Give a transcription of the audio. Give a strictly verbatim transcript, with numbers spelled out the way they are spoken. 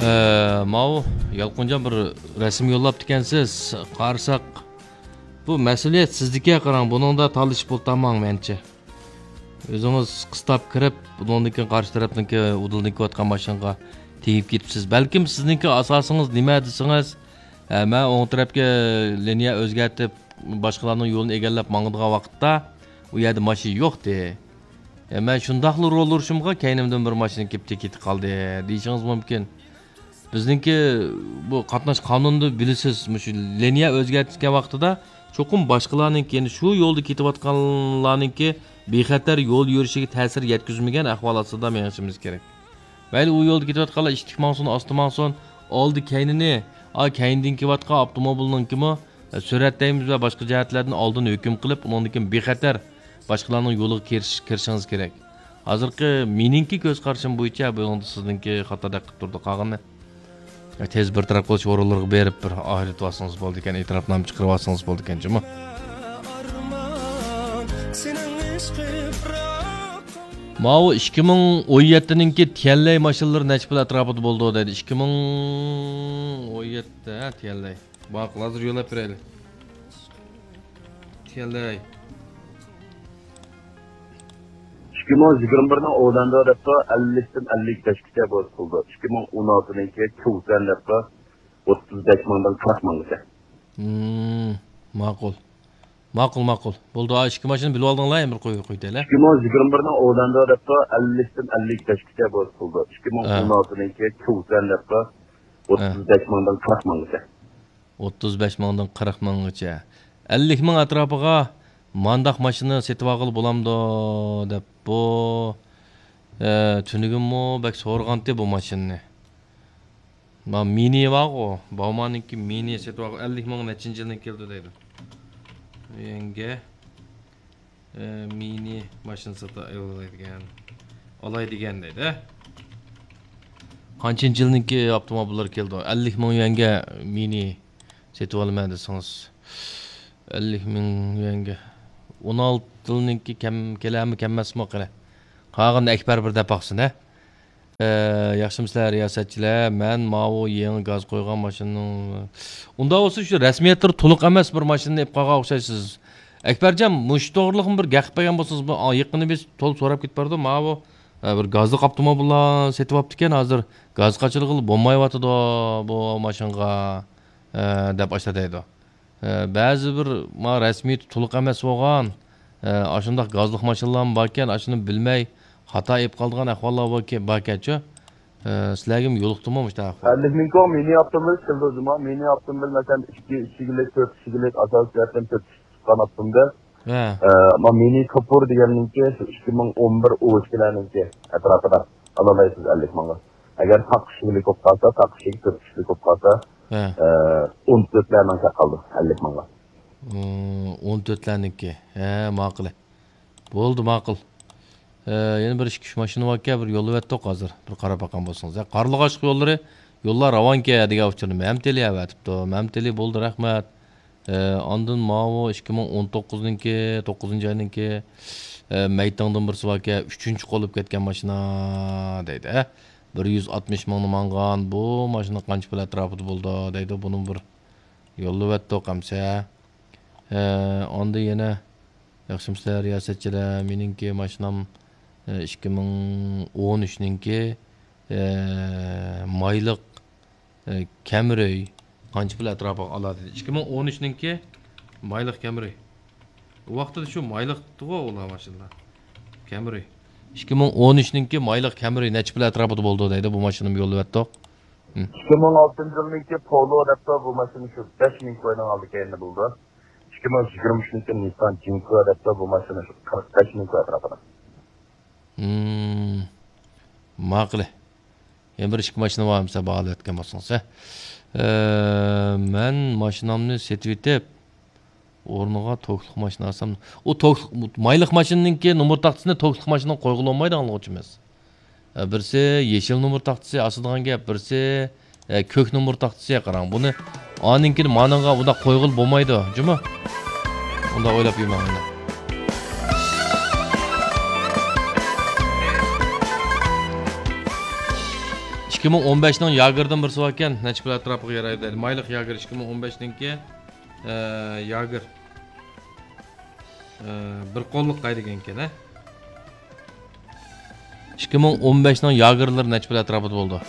ئە، ماۋۇ يالقۇنجان بىر رەسىم يوللاپتىكەنسىز. قارىساق، بۇ مەسئۇلىيەت سىزدىكەن، قاراڭ، بۇنىڭدا تالىشىپ ئولتۇرماڭ مەنچە. ئۆزىڭىز قىستاپ كىرىپ، بۇنىڭدىن كېيىن قارشى تەرەپنىڭكى ئۇدۇلدىن كېلىۋاتقان ماشىنىغا تېگىپ كېتىپسىز. بەلكىم سىزنىڭكى ئاساسىڭىز نېمە دېسىڭىز، ئە، مەن ئوڭ تەرەپكە لىنىيە ئۆزگەرتىپ، باشقىلارنىڭ يولىنى ئىگىلەپ ماڭىدىغان ۋاقىتتا، ئۇ يەردە ماشىنا يوقتى. ئە، مەن شۇنداقلا رول ئۇرۇشۇمغا كەينىمدىن بىر ماشىنا كېلىپ تېگىپ كېتىپ قالدى، دېيىشىڭىز مۇمكىن. بىزنىڭكى بۇ قاتناش قانۇنىدا بىلىسىز، مۇشۇ لىنىيە ئۆزگەرتكەن ۋاقتىدا چوقۇم باشقىلارنىڭكى، يەنى شۇ يولدا كېتىۋاتقانلارنىڭكى بىخەتەر يول يۈرۈشىگە تەسىر يەتكۈزمىگەن ئەھۋال ئاستىدا مېڭىشىمىز كېرەك. مەيلى، ئۇ يولدا كېتىۋاتقانلار ئىتتىك ماڭسۇن، ئاستا ماڭسۇن، ئالدى كەينىنى، ئا، كەينىدىن كېلىۋاتقان ئاپتوموبىلنىڭكىمۇ، ئە، سۈرئەت دەيمىز ۋە باشقا جەھەتلەردىن ئالدىن ھۆكۈم قىلىپ، ئۇنىڭدىن كېيىن بىخەتەر باشقىلارنىڭ يولىغا كىرىش-، كىرىشىڭىز كېرەك. ھازىرقى مېنىڭكى كۆز قارىشىم بويىچە بۇنىڭدا سىزنىڭكى خاتا دەققە تۇرىدۇ. قالغىنى تېز بىر تەرەپ قىلىش ئورۇنلىرىغا بېرىپ، بىر ئايرىتىۋالسىڭىز بولىدىكەن، ئېتىراپنامە چىقىرىۋالسىڭىز بولىدىكەن جۇمۇ. ماۋۇ ئىككى مىڭ ئون يەتتىنىڭكى تيەنلەي ماشىنىلىرى نەچچە پۇل ئەتراپىدا بولىدۇ دەيدۇ. ئىككى مىڭ ئون يەتتە، ھە، تيەنلەي. ماقۇل، ھازىر يوللاپ بېرەيلى. تيەنلەي. ئىككى مىڭ يىگىرمە بىرنىڭ ئوۋدەندە دەپتۇ، ئەللىكتىن ئەللىك بەشكىچە بولسا بولىدۇ. ئىككى مىڭ ئون ئالتىنىڭكى چۇۋسەن دەپتۇ، ئوتتۇز بەش مىڭدىن قىرىق مىڭغىچە. ھىم، ماقۇل. ماقۇل، ماقۇل. بولدى، ئا، ئىككى ماشىنا بىلىۋالدىڭلار، يەنە بىر قوي-، قويۇۋېتەيلى. ئىككى مىڭ يىگىرمە بىرنىڭ ئوۋدەندە دەپتۇ، ئەللىكتىن ئەللىك بەشكىچە بولسا بولىدۇ. ئىككى مىڭ ئون ئالتىنىڭكى چۇۋسەن دەپتۇ، ھە. ئوتتۇز بەش مىڭدىن قىرىق مىڭغىچە. ئوتتۇز بەش مىڭدىن قىرىق مىڭغىچە. ئەللىك مىڭ ئەتراپىغا مانداق ماشىنا سېتىۋالغىلى بولامدۇ دەپ بۇ، ئە، تۈنۈگۈنمۇ بەك سورىغانتى بۇ ماشىنىنى. ما مىنى بارغۇ، باۋماننىڭكى مىنى سېتىۋالغۇ، ئەللىك مىڭ نەچچىنچى يىلدىن كېلىدۇ دەيدۇ. يەڭگە، ئە، مىنى ماشىنا ساتا-، ئالالايدىكەن. ئالاي دېگەن دەيدۇ، ھە؟ قانچىنچى يىلنىڭكى ئاپتوموبىللار كېلىدۇ؟ ئەللىك مىڭ يۈەنگە مىنى سېتىۋالىمەن دېسىڭىز. ئەللىك مىڭ يۈەنگە. ئون ئالتە يىلنىڭكى كەم-، كېلەرمۇ كەلمەسمۇ قېنى. قالغىنىنى ئەكبەر بىر دەپ باقسۇن، ھە؟ ئە، ياخشىمۇسىلەر رىياسەتچىلەر؟ مەن ماۋۇ يېڭى گاز قويغان ماشىنىنىڭ، ئۇنداق بولسا شۇ رەسمىيەتلىرى تولۇق ئەمەس بىر ماشىنىنى ئېلىپ قالغان ئوخشايسىز. ئەكبەرجان، مۇشۇ توغرىلىقمۇ بىر گەپ قىلىپ بەرگەن بولسىڭىز، بۇ، ئا، يېقىندا بىز تولا سوراپ كېتىپ بارىدۇ. ماۋۇ، ئە، بىر گازلىق ئاپتوموبىللار سېتىۋاپتىكەن، ھازىر گاز قاچىلىغىلى بولمايۋاتىدۇ بۇ ماشىنىغا، ئە، دەپ ئاشۇنداق دەيدۇ. ئە، بەزى بىر ما رەسمىيىتى تولۇق ئەمەس بولغان، ئە، ئاشۇنداق گازلىق ماشىنىلارمۇ باركەن، ئاشۇنى بىلمەي خاتا ئېلىپ قالىدىغان ئەھۋاللار باركەن-، باركەنچۇ؟ ئە، سىلەرگىمۇ يولۇقتىمۇ مۇشۇنداق ئەھۋال؟ ئەللىك مىڭ كوڭ مىنى ئاپتوموبىل كېلىدۇ جۇما. مىنى ئاپتوموبىل، مەسىلەن، ئىككى ئىشىكلىك، تۆت ئىشىكلىك، ئاساسىي جەھەتتىن تۆت ئىشىكلىك چىققان ئاپتوموبىل. ھە. ئە، ما مىنى كوپۇر دېگەننىڭكى شۇ ئىككى مىڭ ئون بىر ئۇ ئىككىلەرنىڭكى ئەتراپىدا ئالالايسىز ئەللىك مىڭغا. ئەگەر تاق ئىشىكلىك بولۇپ قالسا، تاق ئىشىك، تۆت ئىشىكلىك بولۇپ قالسا، ھە. ئە، ئون تۆتلەر مىڭ چاققان قالىدۇ، ئەللىك مىڭغا. ئۇ، ئون تۆتلەرنىڭكى. ھە، ماقۇل. بولدى، ماقۇل. ئە، يەنە بىر ئىككى، ئۈچ ماشىنا باركەن، بىر يوللىۋەتتۇق ھازىر. بىر قاراپ باققان بولسىڭىز. ھە، قارلىغاچلىق يوللىرى، يوللار راۋانكەن دېگەن ئۇچۇرنى مەمتىلى ئەۋەتىپتۇ. مەمتىلى بولدى، رەھمەت. ئە، ئاندىن ماۋۇ ئىككى مىڭ ئون توققۇزنىڭكى، توققۇزىنچى ئاينىڭكى، ئە، مەيتىڭدىن بىرسى باركەن، ئۈچىنچى قولۇپ كەتكەن ماشىنا دەيدۇ. ھە، بىر يۈز ئاتمىش مىڭنى ماڭغان بۇ ماشىنا قانچە پۇل ئەتراپىدا بولىدۇ دەيدۇ. بۇنى بىر يوللىۋەتتۇق ئەمسە. ئە، ئاندىن يەنە ياخشىمۇسىلەر رىياسەتچىلەر؟ مېنىڭكى ماشىنام، ئە، ئىككى مىڭ ئون ئۈچنىڭكى، ئە، مايلىق، ئە، كەمرى قانچە پۇل ئەتراپىغا ئالاتتى؟ ئىككى مىڭ ئون ئۈچنىڭكى مايلىق كەمرى. ئۇ ۋاقتىدا شۇ مايلىقتىغۇ ئۇلار ماشىنىلار. كەمرى. ئىككى مىڭ ئون ئۈچنىڭكى مايلىق كەمرى نەچچە پۇل ئەتراپىدا بولىدۇ دەيدۇ، بۇ ماشىنىمۇ يوللىۋەتتۇق. ھىم. ئىككى مىڭ ئالتىنچى يىلنىڭكى پولو دەپتۇ، بۇ ماشىنا شۇ بەش مىڭ كوينىڭ ئالدى كەينىدە بولىدۇ. ئىككى مىڭ يىگىرمە ئۈچنىڭكى نىسسان جىنكو دەپتۇ، بۇ ماشىنا شۇ قىرىق بەش مىڭ كوي ئەتراپىدا. ھىم، ماقۇل. يەنە بىر ئىككى ماشىنا بار دېسە باھالىۋەتكەن بولسىڭىز، ھە. ئە، مەن ماشىنامنى سېتىۋېتىپ، ئورنىغا توكلۇق ماشىنا ئالسام، ئۇ توكلۇق، مايلىق ماشىنىنىڭكى نومۇر تاختىسىنى توكلۇق ماشىنىغا قويغىلى بولمايدۇ، ئاڭلىغۇچىمىز. ئە، بىرسى يېشىل نومۇر تاختىسى ئاسىدىغان گەپ، بىرسى، ئە، كۆك نومۇر تاختىسى. قاراڭ، بۇنى ئانىڭكىنى مانىڭغا بۇنداق قويغىلى بولمايدۇ، جۇمۇ؟ ئۇنداق ئويلاپ يۈرمەڭ ئۇنداق. ئىككى مىڭ ئون بەشنىڭ ياگېردىن بىرسى باركەن، نەچچە پۇل ئەتراپىغا يارايدۇ دەيدۇ. مايلىق ياگېر ئىككى مىڭ ئون بەشنىڭكى، ئە، ياگېر. ئە، بىر قوللۇق دېگەنكەن، ھە؟ ئىككى مىڭ ئون بەشنىڭ ياگېرلىرى نەچچە پۇل ئەتراپىدا بولىدۇ؟